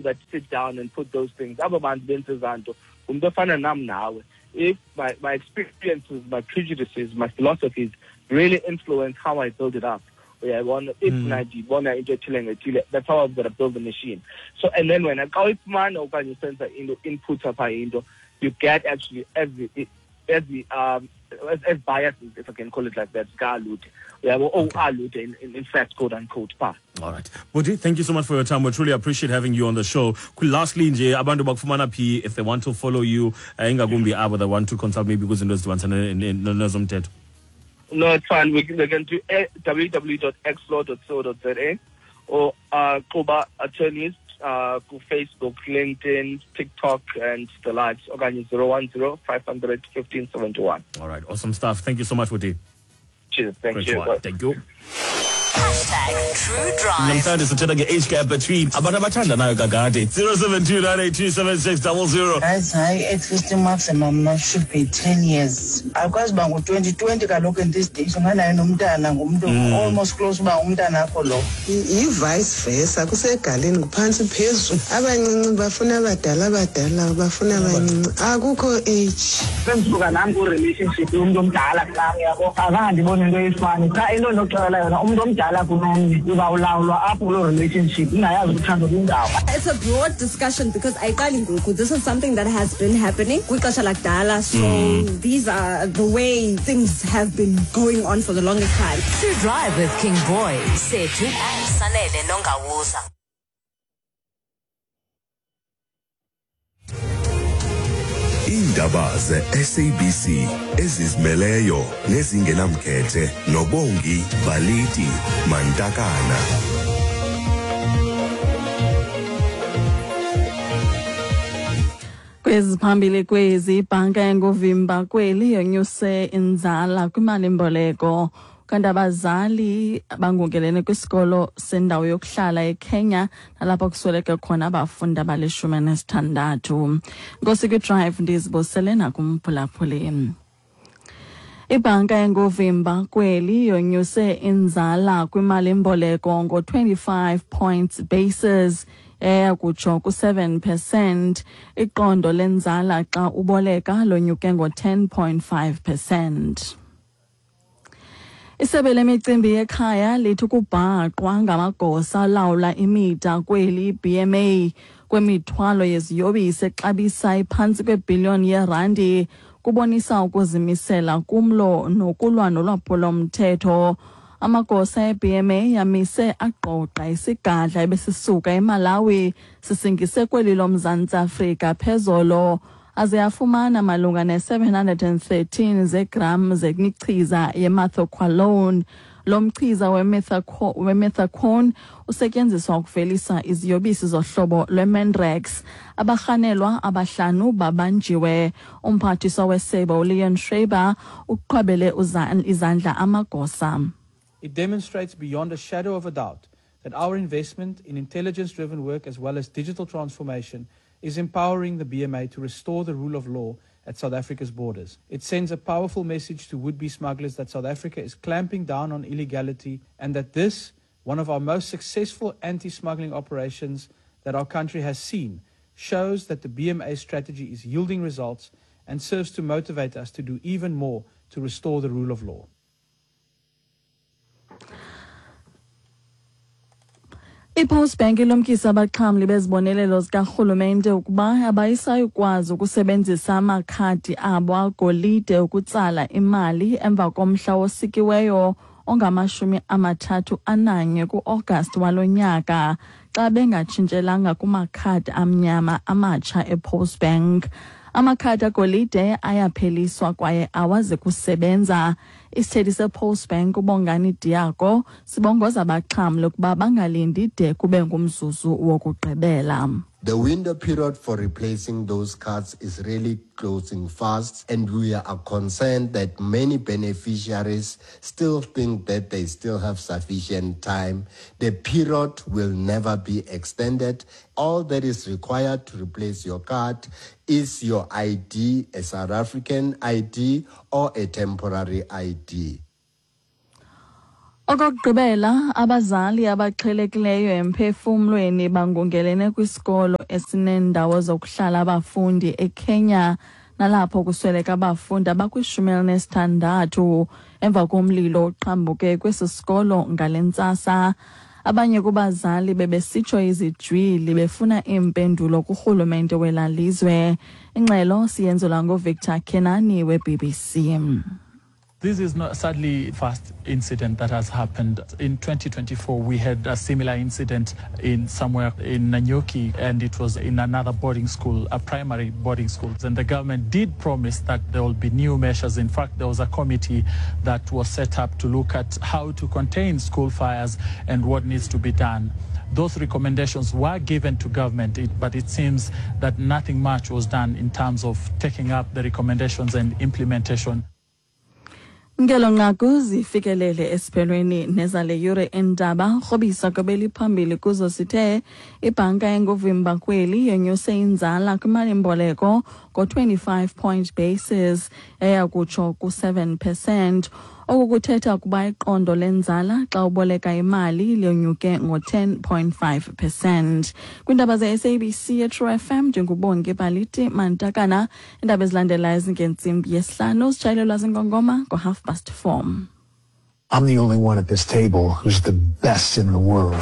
that sit down and put those things. Aba bantu benza ezanto, ngumntu ofana nam nawe. If my experiences, my prejudices, my philosophies really influence how I build it up. Uyayibona, if mna ndibona into ethile ngethile, that's how I'm going to build the machine. So, and then when xa uyifumana okanye usenza into, input apha into, you get actually every as biases, if I can call it like that, zika-Alude. Uyabo, oh, Alude, in fact, quote unquote, pa. All right. Buti, thank you so much for your time. We truly appreciate having you on the show. Lastly, nje, abantu bakufumana phi if they want to follow you, ingakumbi abo that want to consult maybe kwizinto ezidibanisana nezomthetho? No, it's fine. We can do www.xlaw.co.za or Kuba Attorneys ku Facebook, LinkedIn, TikTok, and the likes. Okanye 010 500 1571. All right. Awesome stuff. Thank you so much, Buti. Cheers. Thank Great you. one. Bye. Thank you. #TrueDrive. Namhlanje sithetha nge-age gap between abantu abathandanayo kakade. 072 982 7600. Guys, hayi, at least maximum should be 10 years. Akwazi uba ngu-2020 kaloku in these days, unganayo nomntana, ngumntu almost close uba ngumntana akho lo. Yi-vice versa, kusegaleni, nguphantsi phezulu. Abancinci bafuna abadala, abadala bafuna abancinci, akukho age. Sendisuka nam ku-relationship yomntu omdala kunam, yabo, azange ndibone into eyifani qha. Into endinokuxelela yona, umntu omdala kunomnye uzawulawulwa apho kuloo relationship, ingayazi uthando kwindawo. It's a broad discussion because ayiqali ngoku. This is something that has been happening kwixesha lakudala. So these are the way things have been going on for the longest time. True Drive with King Boy, Sethu and Sanele Nongawuza. Iindaba ze-SABC ezizimeleyo nezingenamkhethe noBongi Baliti Mantakana. Kweziphambili kwezi: ibhanka enguvimba kweli yonyuse inzala kwimalimboleko, kanti abazali bangungelene kwisikolo sendawo yokuhlala eKenya nalapho kusweleke khona abafundi abali-16. Nkosi kwiDrive, ndizibusele nakumphulaphuli. Ibhanka enguvimba kweli yonyuse inzala kwimalimboleko ngo-25 points basis, eya kutsho ku-7%. Iqondo lenzala xa uboleka lonyuke ngo-10.5%. Isebe lemicimbi yekhaya lithi ukubhaqwa ngamagosa alawula imida kweli, BMA, kwemithwalo yeziyobisi exabisa iphantsi kwebhiliyoni yerandi kubonisa ukuzimisela kumlo nokulwa nolwaphulomthetho. Amagosa e-BMA amise agqogqa isigadla ebesisuka eMalawi sisingise kweli loMzantsi Afrika phezolo, aze afumana malunga ne-713 zegram zemichiza yemethaqualone. Lo mchiza wemethaqualone usetyenziswa ukuvelisa iziyobisi zohlobo lweMandrax. Abarhanelwa abahlanu babanjiwe. Umphathiswa wesebe uLeon Schreiber uqhwabele izandla amagosa. It demonstrates beyond a shadow of a doubt that our investment in intelligence-driven work as well as digital transformation is empowering the BMA to restore the rule of law at South Africa's borders. It sends a powerful message to would-be smugglers that South Africa is clamping down on illegality and that this, one of our most successful anti-smuggling operations that our country has seen, shows that the BMA strategy is yielding results and serves to motivate us to do even more to restore the rule of law. IPostbank ilumkisa abaxhamli bezibonelelo zikarhulumente ukuba abayisayikwazi ukusebenzisa amakhadi abo agolide ukutsala imali emva komhla osikiweyo ongamashumi 31 ku-Agasti walo nyaka xa bengatshintshelanga kumakhadi amnyama amatsha ePostbank. Amakhadi agolide ayapheliswa kwaye awazi kusebenza. Isithethi sePostbank uBongani Diako sibongoza abaxhamli ukuba bangalindi de kube ngumzuzu wokugqibela. The window period for replacing those cards is really closing fast, and we are concerned that many beneficiaries still think that they still have sufficient time. The period will never be extended. All that is required to replace your card is your ID, a South African ID or a temporary ID. Okokugqibela, abazali abaxhelekileyo emphefumlweni bangungelene kwisikolo esineendawo zokuhlala abafundi eKenya, nalapho kusweleka abafundi abakwi-16 emva komlilo oqhambuke kwesi sikolo ngale ntsasa. Abanye kubazali bebesitsho izijwili befuna iimpendulo kurhulumente wela lizwe. Ingxelo siyenzelwa nguVictor Kenani we-BBC. This is not sadly first incident that has happened. In 2024, we had a similar incident in somewhere in Nanyuki, and it was in another boarding school, a primary boarding school. And the government did promise that there will be new measures. In fact, there was a committee that was set up to look at how to contain school fires and what needs to be done. Those recommendations were given to government, but it seems that nothing much was done in terms of taking up the recommendations and implementation. Ngelo nqaku zifikelele esiphelweni nezale yure endaba rhobisa kwebeliphambili kuzo sithe ibhanka enguvimba kweli yonyuse inzala kwimalimboleko ngo-25 point basis eya kutsho ku-7 percent. Oku kuthetha ukuba iqondo lenzala xa uboleka imali lonyuke ngo-10.5 percent. Kwiindaba ze-SABC yeTrue FM, ndinguBongi Baliti Mantakana. Iindaba ezilandelayo zingentsimbi yesihlanu, zitshayelelwa zingongoma ngo-4:30. I'm the only one at this table who's the best in the world.